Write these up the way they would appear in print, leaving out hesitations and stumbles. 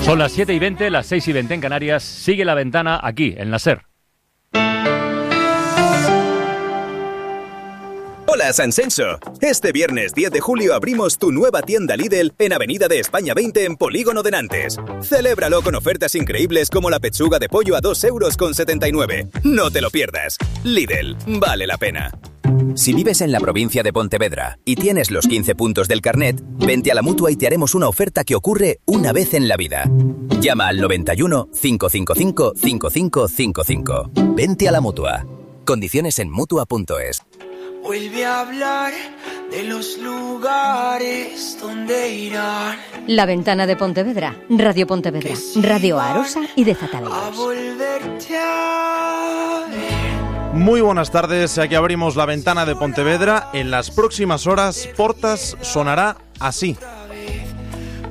Son las 7:20, las 6:20 en Canarias. Sigue La Ventana aquí, en la SER. Hola Sansenso. Este viernes 10 de julio abrimos tu nueva tienda Lidl en Avenida de España 20 en Polígono de Nantes. Celébralo con ofertas increíbles como la pechuga de pollo a 2,79 €. No te lo pierdas. Lidl, vale la pena. Si vives en la provincia de Pontevedra y tienes los 15 puntos del carnet, vente a la Mutua y te haremos una oferta que ocurre una vez en la vida. Llama al 91 555 5555. Vente a la Mutua. Condiciones en Mutua.es. Vuelve a hablar de los lugares donde irán. La Ventana de Pontevedra, Radio Pontevedra, Radio Arosa y de Zataleiros. A volverte a ver. Muy buenas tardes, aquí abrimos La Ventana de Pontevedra. En las próximas horas, Portas sonará así.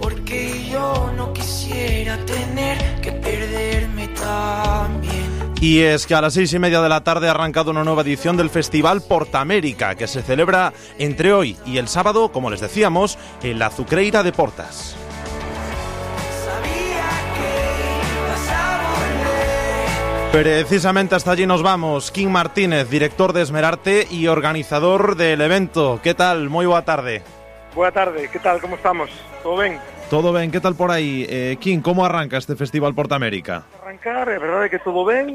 Porque yo no quisiera tener que perderme también. Y es que a las 6:30 de la tarde ha arrancado una nueva edición del Festival Portamérica, que se celebra entre hoy y el sábado, como les decíamos, en la Azucreira de Portas. Precisamente hasta allí nos vamos. Quim Martínez, director de Esmerarte y organizador del evento. ¿Qué tal? Muy buena tarde. Buena tarde, ¿qué tal? ¿Cómo estamos? ¿Todo bien? Todo ben, ¿qué tal por aí? Quim, como arranca este Festival Portamérica? Arrancar, é verdade que todo ben,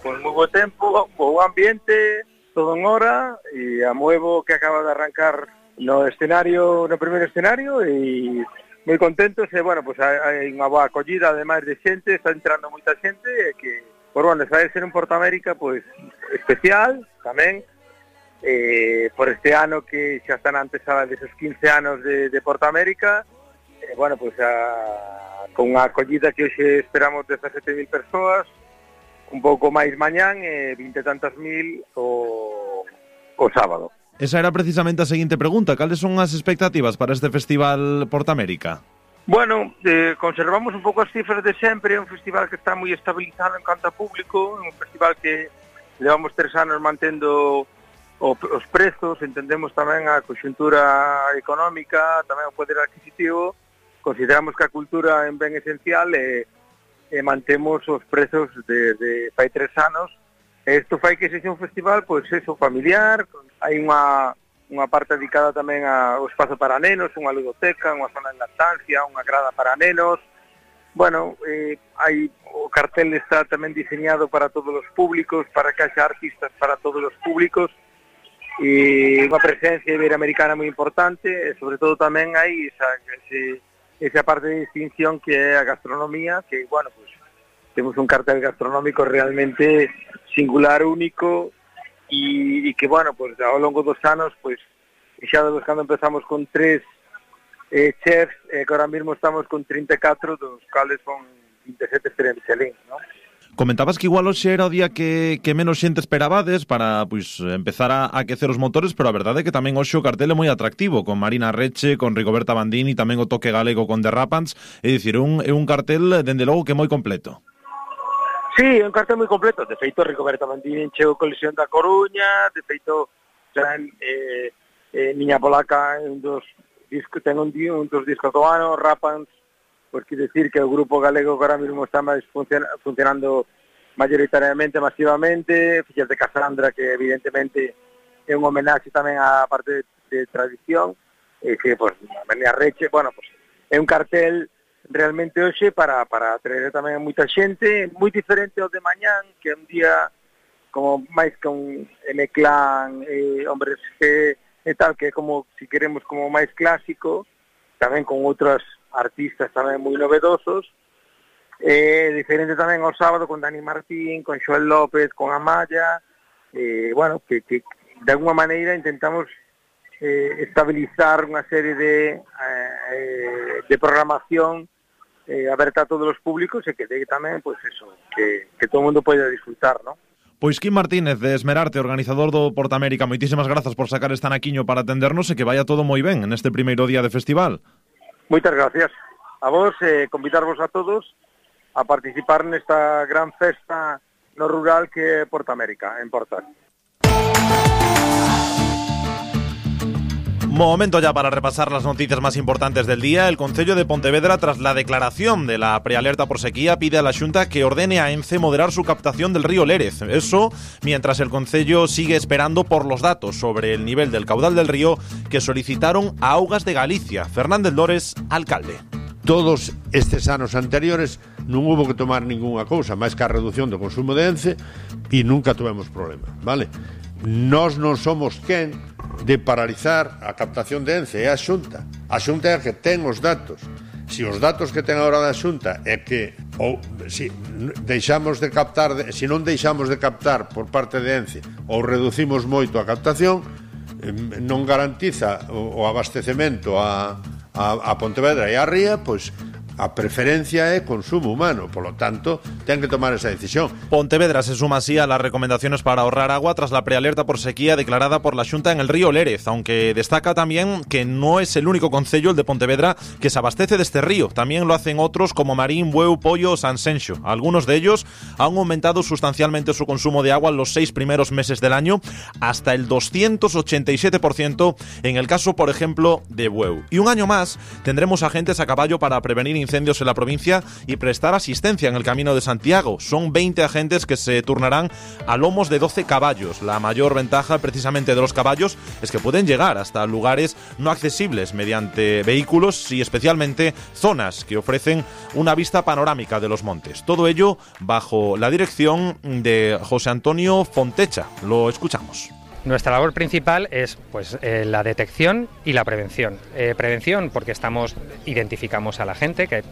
con moi bo tempo, bo ambiente, todo en hora, e a Muevo que acaba de arrancar no escenario, no primeiro escenario, e moi contentos, e bueno, pues hai unha boa acollida, ademais de xente, está entrando moita xente, e que, por bueno, vai ser un Portamérica, pues, especial, tamén, por este ano que xa están a antesala deses 15 anos de Portamérica. Bueno, pues con unha acollida que hoxe esperamos 17.000 persoas, un pouco máis mañán e 20 e tantas mil o sábado. Esa era precisamente a seguinte pregunta. Cales son as expectativas para este Festival Portamérica? Bueno, conservamos un pouco as cifras de sempre, é un festival que está moi estabilizado en canto a público, é un festival que levamos 3 anos mantendo os prezos, entendemos tamén a conxuntura económica, tamén o poder adquisitivo. Consideramos que a cultura é un ben esencial e mantemos os prezos de fai 3 anos. Isto fai que sexa un festival, pois eso, familiar. Hai unha parte dedicada tamén ao espazo para nenos, unha ludoteca, unha zona de lactancia, unha grada para nenos. Bueno, o cartel está tamén diseñado para todos os públicos, para que haxa artistas para todos os públicos, e unha presencia iberoamericana moi importante, e sobre todo tamén hai esa parte de distinción que é a gastronomía, que, bueno, pues temos un cartel gastronómico realmente singular, único, e que, bueno, pues ao longo dos anos, pues, xa cando empezamos con 3 chefs, que ahora mismo estamos con 34, dos cales son 27 estrellas Michelin, ¿no? Comentabas que igual hoxe era o día que menos xente esperabades para pois empezar a aquecer os motores, pero a verdade é que tamén hoxe o cartel é moi atractivo, con Marina Reche, con Rigoberta Bandini, tamén o toque galego con Derrapants, é dicir, é un cartel, dende logo, que moi completo. Sí, é un cartel moi completo. De feito, Rigoberta Bandini chegou con Lesión da Coruña, de feito, Niña Polaca ten un dos discos do ano, Rapans, pues quiere decir que o grupo galego que ahora mismo está máis funcionando mayoritariamente, masivamente, Fillas de Casandra, que evidentemente é un homenaxe tamén á parte de tradición, e que, pues, María Reche, bueno, pues, é un cartel realmente hoxe para atraer tamén a moita xente, moi diferente ao de mañán, que é un día como máis con M-Clan, hombres que e tal, que é como, si queremos, como máis clásico, tamén con outras artistas tamén moi novedosos, diferente tamén ao sábado con Dani Martín, con Xoel López, con Amaya, bueno, que de alguma maneira intentamos estabilizar unha serie de programación aberta a todos os públicos e que dé tamén, pues eso, que todo o mundo poida disfrutar, ¿no? Pois Quim Martínez, de Esmerarte, organizador do Portamérica, moitísimas grazas por sacar esta naquiño para atendernos e que vaya todo moi ben en este primeiro día de festival. Moitas gracias a vos, convidarvos a todos a participar nesta gran festa no rural que é Portamérica, en Portas. Momento ya para repasar las noticias más importantes del día. El Concello de Pontevedra, tras la declaración de la prealerta por sequía, pide a la Xunta que ordene a ENCE moderar su captación del río Lérez. Eso mientras el Concello sigue esperando por los datos sobre el nivel del caudal del río que solicitaron a Augas de Galicia. Fernández Lores, alcalde. Todos estes anos anteriores non hubo que tomar ningunha cousa máis que a reducción do consumo de ENCE e nunca tuvemos problema, vale? Nós non somos quen de paralizar a captación de ENCE, é a Xunta. A Xunta é a que ten os datos. Se os datos que ten agora da Xunta é que se non deixamos de captar por parte de ENCE ou reducimos moito a captación, non garantiza o abastecemento a Pontevedra e a Ría, pois a preferencia é consumo humano, polo tanto, ten que tomar esa decisión. Pontevedra se suma así a las recomendaciones para ahorrar agua tras la prealerta por sequía declarada por la Xunta en el río Lérez, aunque destaca también que no es el único concello, el de Pontevedra, que se abastece de este río. También lo hacen otros como Marín, Bueu, Pollo o Sanxenxo. Algunos de ellos han aumentado sustancialmente su consumo de agua en los 6 primeros meses del año, hasta el 287% en el caso, por ejemplo, de Bueu. Y un año más tendremos agentes a caballo para prevenir incendios en la provincia y prestar asistencia en el Camino de Santiago. Son 20 agentes que se turnarán a lomos de 12 caballos. La mayor ventaja precisamente de los caballos es que pueden llegar hasta lugares no accesibles mediante vehículos y especialmente zonas que ofrecen una vista panorámica de los montes. Todo ello bajo la dirección de José Antonio Fontecha. Lo escuchamos. Nuestra labor principal es la detección y la prevención. Prevención porque identificamos a la gente, que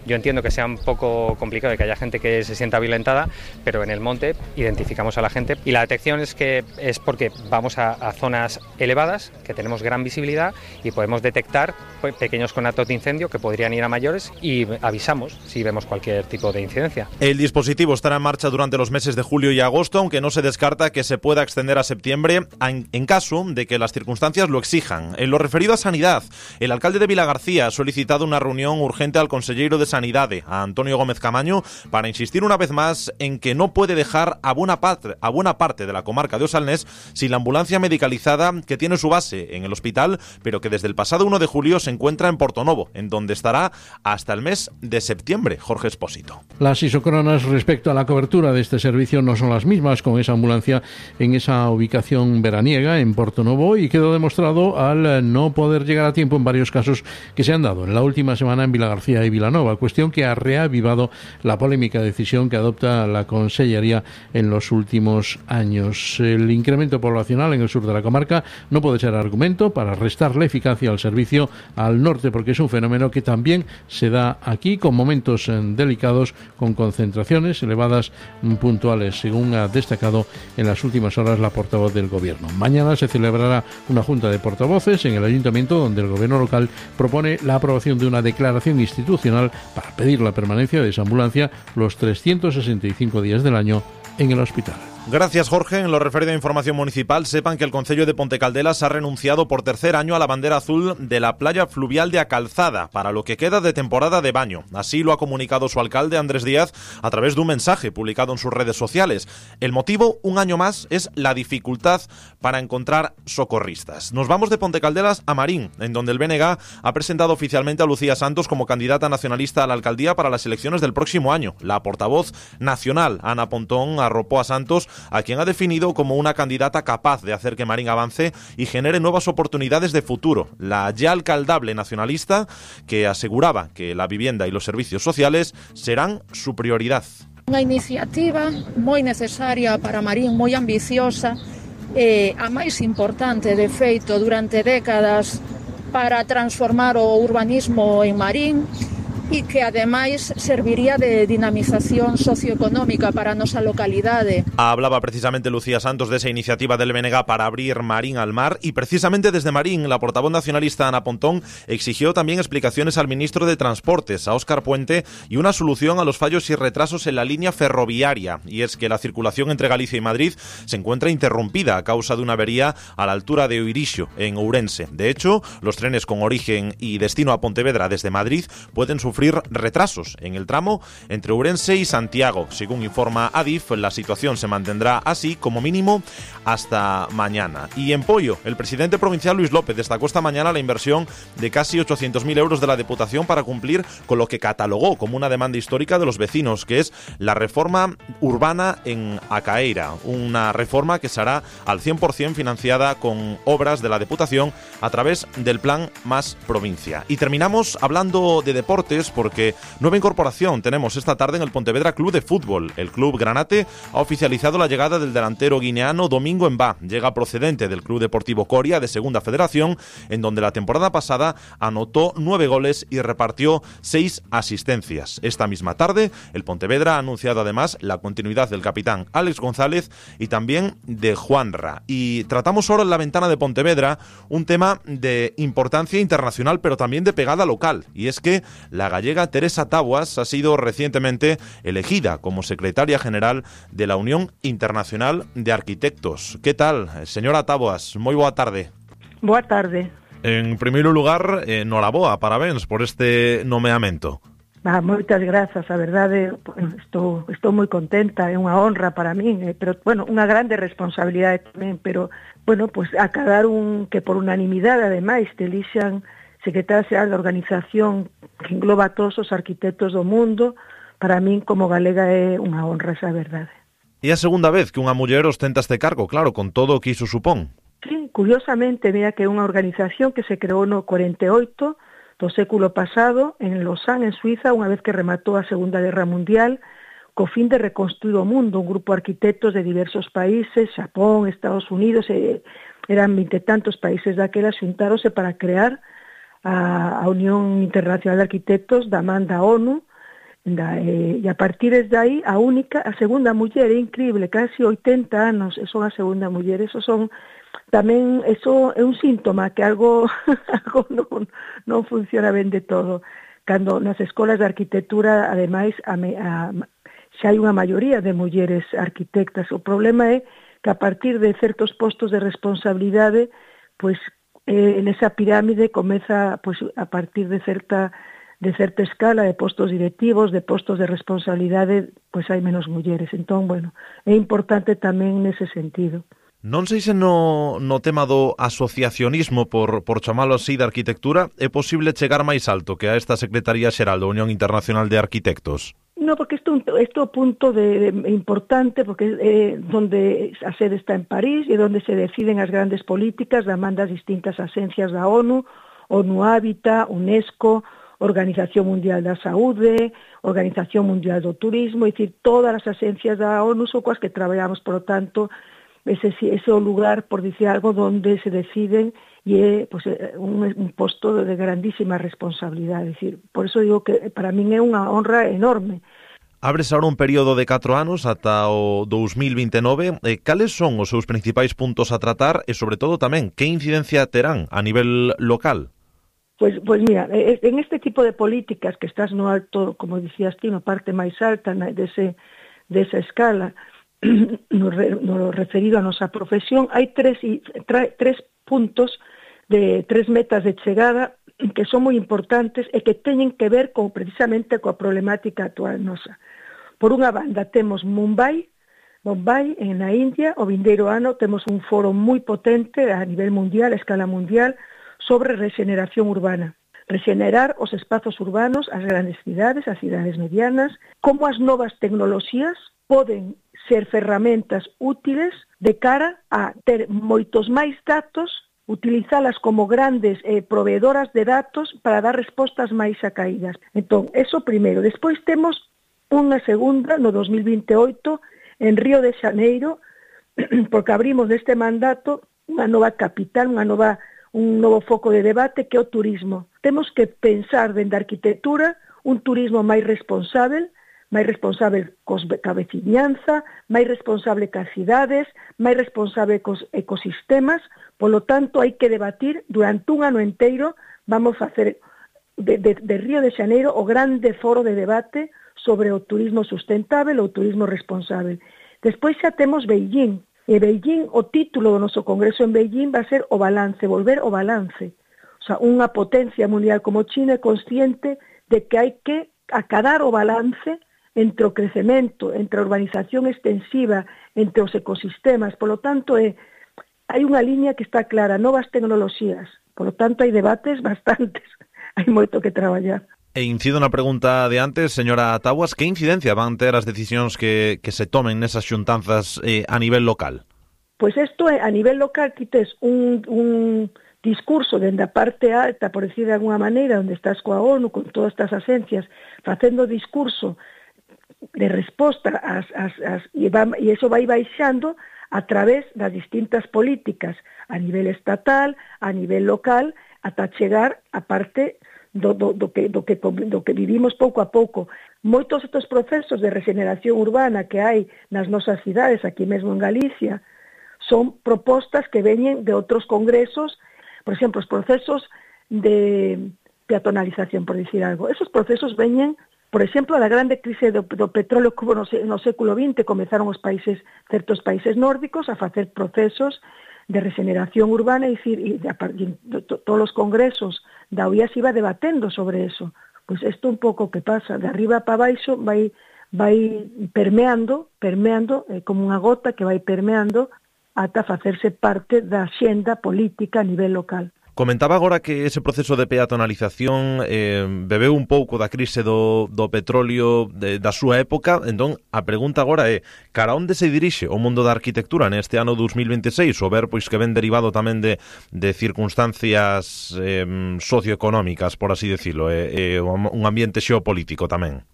yo entiendo que sea un poco complicado y que haya gente que se sienta violentada, pero en el monte identificamos a la gente. Y la detección es porque vamos a zonas elevadas, que tenemos gran visibilidad y podemos detectar pequeños conatos de incendio que podrían ir a mayores y avisamos si vemos cualquier tipo de incidencia. El dispositivo estará en marcha durante los meses de julio y agosto, aunque no se descarta que se pueda extender a septiembre en caso de que las circunstancias lo exijan. En lo referido a sanidad, el alcalde de Vilagarcía ha solicitado una reunión urgente al consellero de Sanidade, a Antonio Gómez Camaño, para insistir una vez más en que no puede dejar a buena parte de la comarca de Osalnés sin la ambulancia medicalizada que tiene su base en el hospital, pero que desde el pasado 1 de julio se encuentra en Portonovo, en donde estará hasta el mes de septiembre. Jorge Espósito. Las isócronas respecto a la cobertura de este servicio no son las mismas con esa ambulancia en esa ubicación veraniega en Portonovo, y quedó demostrado al no poder llegar a tiempo en varios casos que se han dado en la última semana en Vilagarcía y Vilanova, cuestión que ha reavivado la polémica decisión que adopta la Consellería en los últimos años. El incremento poblacional en el sur de la comarca no puede ser argumento para restarle eficacia al servicio al norte, porque es un fenómeno que también se da aquí con momentos delicados, con concentraciones elevadas puntuales, según ha destacado en las últimas horas la portavoz del Gobierno. Mañana se celebrará una junta de portavoces en el Ayuntamiento, donde el Gobierno local propone la aprobación de una declaración institucional para pedir la permanencia de esa ambulancia los 365 días del año en el hospital. Gracias, Jorge. En lo referido a información municipal, sepan que el Concello de Pontecaldelas ha renunciado por tercer año a la bandera azul de la playa fluvial de A Calzada para lo que queda de temporada de baño. Así lo ha comunicado su alcalde, Andrés Díaz, a través de un mensaje publicado en sus redes sociales. El motivo, un año más, es la dificultad para encontrar socorristas. Nos vamos de Pontecaldelas a Marín, en donde el BNG ha presentado oficialmente a Lucía Santos como candidata nacionalista a la alcaldía para las elecciones del próximo año. La portavoz nacional, Ana Pontón, arropó a Santos, a quien ha definido como una candidata capaz de hacer que Marín avance y genere nuevas oportunidades de futuro. La ya alcaldable nacionalista, que aseguraba que la vivienda y los servicios sociales serán su prioridad. Unha iniciativa moi necesaria para Marín, moi ambiciosa, a máis importante, de feito, durante décadas para transformar o urbanismo en Marín, e que ademais serviría de dinamización socioeconómica para a nosa localidade. Hablaba precisamente Lucía Santos de esa iniciativa del BNG para abrir Marín al mar, y precisamente desde Marín la portavoz nacionalista Ana Pontón exigió también explicaciones al ministro de Transportes, a Óscar Puente, y una solución a los fallos y retrasos en la línea ferroviaria. Y es que la circulación entre Galicia y Madrid se encuentra interrumpida a causa de una avería a la altura de Oirixo, en Ourense. De hecho, los trenes con origen y destino a Pontevedra desde Madrid pueden sufrir sufrir retrasos en el tramo entre Ourense y Santiago. Según informa Adif, la situación se mantendrá así como mínimo hasta mañana. Y en Poio, el presidente provincial Luis López destacó esta mañana la inversión de casi 800.000 euros de la Diputación para cumplir con lo que catalogó como una demanda histórica de los vecinos, que es la reforma urbana en Acaeira, una reforma que será al 100% financiada con obras de la Diputación a través del plan Más Provincia. Y terminamos hablando de deportes porque nueva incorporación tenemos esta tarde en el Pontevedra Club de Fútbol. El club granate ha oficializado la llegada del delantero guineano Domingo Mbá. Llega procedente del Club Deportivo Coria de Segunda Federación, en donde la temporada pasada anotó 9 goles y repartió 6 asistencias. Esta misma tarde, el Pontevedra ha anunciado además la continuidad del capitán Alex González y también de Juanra. Y tratamos ahora en la ventana de Pontevedra un tema de importancia internacional, pero también de pegada local. Y es que la gallega Teresa Taboas ha sido recientemente elegida como secretaria general de la Unión Internacional de Arquitectos. ¿Qué tal, señora Taboas? Moi boa tarde. Boa tarde. En primeiro lugar, noraboa, parabéns por este nomeamento. Moitas grazas, a verdade, estou moi contenta, é unha honra para min, pero, bueno, unha grande responsabilidade tamén, pero, bueno, pues acadar que por unanimidade, ademais, te elixan secretaria xeral da organización que engloba a todos os arquitectos do mundo, para min como galega é unha honra, esa verdade. E a segunda vez que unha muller ostenta este cargo, claro, con todo o que iso supón. Sí, curiosamente, mira que é unha organización que se creou no 48 do século pasado en Lausanne, en Suiza, unha vez que rematou a Segunda Guerra Mundial, co fin de reconstruir o mundo. Un grupo de arquitectos de diversos países, Xapón, Estados Unidos, eran 20 e tantos países daquela, xuntáronse para crear a Unión Internacional de Arquitectos da man da ONU, e a partir de aí, a segunda muller, é increíble, casi 80 anos, son a segunda muller, eso é un síntoma que algo non funciona ben de todo. Cando nas escolas de arquitectura, ademais, xa hai unha maioría de mulleres arquitectas. O problema é que a partir de certos postos de responsabilidade, pois, en esa pirámide comeza, pois, a partir de certa escala de postos directivos, de postos de responsabilidade, pois hai menos mulleres. Entón, bueno, é importante tamén nese sentido. Non sei se no tema do asociacionismo, por chamalo así, da arquitectura, é posible chegar máis alto que a esta Secretaría Xeral da Unión Internacional de Arquitectos? No, porque isto é un punto importante, porque é donde a sede está en París e donde se deciden as grandes políticas da man das distintas axencias da ONU, ONU Hábitat, UNESCO, Organización Mundial da Saúde, Organización Mundial do Turismo, é dicir, todas as axencias da ONU son coas que traballamos, por lo tanto, ese é o lugar, por dicir algo, donde se deciden e é pues, un posto de grandísima responsabilidade. Es decir, por eso digo que para min é unha honra enorme. Abres ahora un período de 4 anos ata o 2029. Cales son os seus principais puntos a tratar e, sobre todo, tamén, que incidencia terán a nivel local? Pues mira, en este tipo de políticas que estás no alto, como dicías ti, no parte máis alta desa escala, no referido a nosa profesión, hai tres puntos de 3 metas de chegada que son moi importantes e que teñen que ver precisamente coa problemática actual nosa. Por unha banda temos Mumbai, na India, o vindeiro ano temos un foro moi potente a nivel mundial, a escala mundial, sobre regeneración urbana. Regenerar os espazos urbanos, as grandes cidades, as cidades medianas, como as novas tecnoloxías poden ser ferramentas útiles de cara a ter moitos máis datos, utilizalas como grandes proveedoras de datos para dar respostas máis acaídas. Entón, eso primeiro. Despois temos unha segunda no 2028 en Río de Xaneiro, porque abrimos neste mandato unha nova capital, un novo foco de debate que é o turismo. Temos que pensar dende a arquitectura un turismo máis responsable ca veciñanza, máis responsable cas cidades, máis responsable cos ecosistemas. Polo tanto, hai que debatir durante un ano inteiro, vamos a facer de Río de Xaneiro o grande foro de debate sobre o turismo sustentável ou turismo responsable. Despois xa temos Beijing. E Beijing, o título do noso congreso en Beijing va a ser o balance, volver o balance. O sea, unha potencia mundial como China é consciente de que hai que acadar o balance entre o crecemento, entre a urbanización extensiva, entre os ecosistemas. Por lo tanto, hai unha liña que está clara, novas tecnoloxías. Por lo tanto, hai debates bastantes. Hai moito que traballar. E incido na pregunta de antes, señora Taboas, que incidencia van ter as decisións que se tomen nesas xuntanzas a nivel local? Pois isto é, a nivel local, ti tes un discurso dende a parte alta, por decir de alguna maneira, onde estás coa ONU, con todas estas agencias, facendo discurso de resposta e iso vai baixando a través das distintas políticas a nivel estatal, a nivel local, ata chegar a parte do que vivimos pouco a pouco. Moitos estes procesos de regeneración urbana que hai nas nosas cidades, aquí mesmo en Galicia, son propostas que veñen de outros congresos. Por exemplo, os procesos de peatonalización, por dicir algo. Esos procesos veñen, por exemplo, da grande crise do petróleo que hubo no século XX, comezaron certos países nórdicos a facer procesos de regeneración urbana, e todos os congresos da OIA se iba debatendo sobre eso. Pois isto un pouco que pasa, de arriba para baixo vai permeando, como unha gota que vai permeando ata facerse parte da xenda política a nivel local. Comentaba agora que ese proceso de peatonalización bebeu un pouco da crise do petróleo da súa época. Entón, a pregunta agora é, cara onde se dirixe o mundo da arquitectura neste ano 2026, o ver pois que ven derivado tamén de circunstancias socioeconómicas, por así decirlo, un ambiente xeopolítico tamén?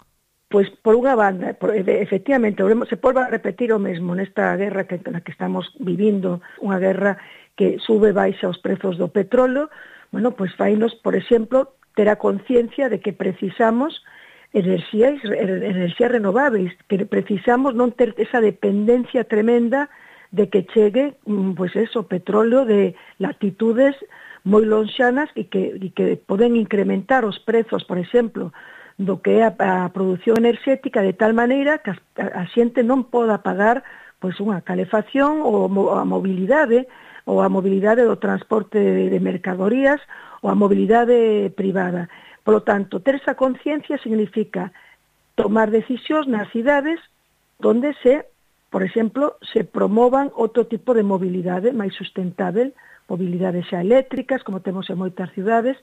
Pois, por unha banda, efectivamente, se volve a repetir o mesmo nesta guerra na que estamos vivindo, unha guerra que sube e baixa os prezos do petróleo. Bueno, pois fainos, por exemplo, ter a conciencia de que precisamos enerxías renováveis, que precisamos non ter esa dependencia tremenda de que chegue, pois eso, petróleo de latitudes moi lonxanas e que poden incrementar os prezos, por exemplo, do que é a produción enerxética, de tal maneira que a xente non poda pagar pois unha calefacción ou a mobilidade do transporte de mercadorías ou a mobilidade privada. Por lo tanto, ter esa conciencia significa tomar decisións nas cidades onde por exemplo, se promovan outro tipo de mobilidade máis sustentável, mobilidades xa eléctricas, como temos en moitas cidades.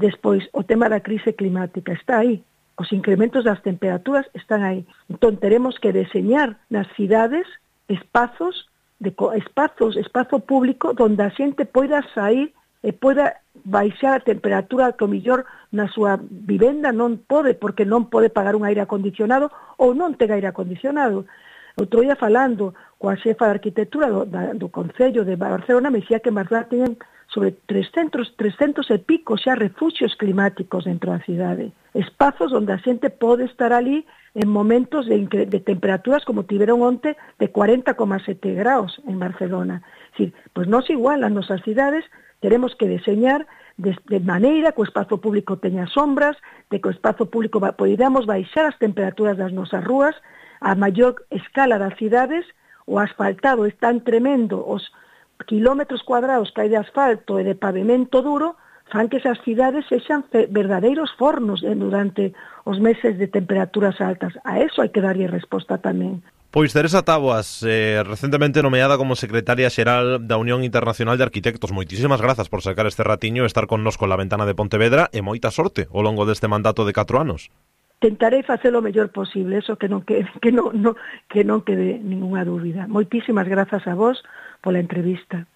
Despois, o tema da crise climática está aí. Os incrementos das temperaturas están aí. Entón, teremos que deseñar nas cidades espazo público onde a xente poida sair e poida baixar a temperatura que o millor na súa vivenda non pode, porque non pode pagar un aire acondicionado ou non ten aire acondicionado. Outro día falando coa xefa de arquitectura do Concello de Barcelona, me dicía que en Barcelona teñen sobre 300 e pico xa refuxios climáticos dentro da cidade. Espazos onde a xente pode estar ali en momentos de temperaturas como tiveron onte de 40,7 graus en Barcelona. Es decir, pois nós igual as nosas cidades teremos que deseñar de maneira que o espazo público teña sombras, de que o espazo público podamos baixar as temperaturas das nosas rúas a maior escala das cidades. O asfaltado é tan tremendo, os kilómetros cuadrados que hai de asfalto e de pavimento duro fan que esas cidades sexan verdadeiros fornos durante os meses de temperaturas altas. A eso hai que darlle resposta tamén. Pois Teresa Taboas, recentemente nomeada como secretaria xeral da Unión Internacional de Arquitectos. Moitísimas grazas por sacar este ratiño e estar connosco na ventana de Pontevedra, e moita sorte ao longo deste mandato de 4 anos. Tentarei facer o mellor posible, eso que non quede ninguna dúbida. Moitísimas grazas a vos pola entrevista.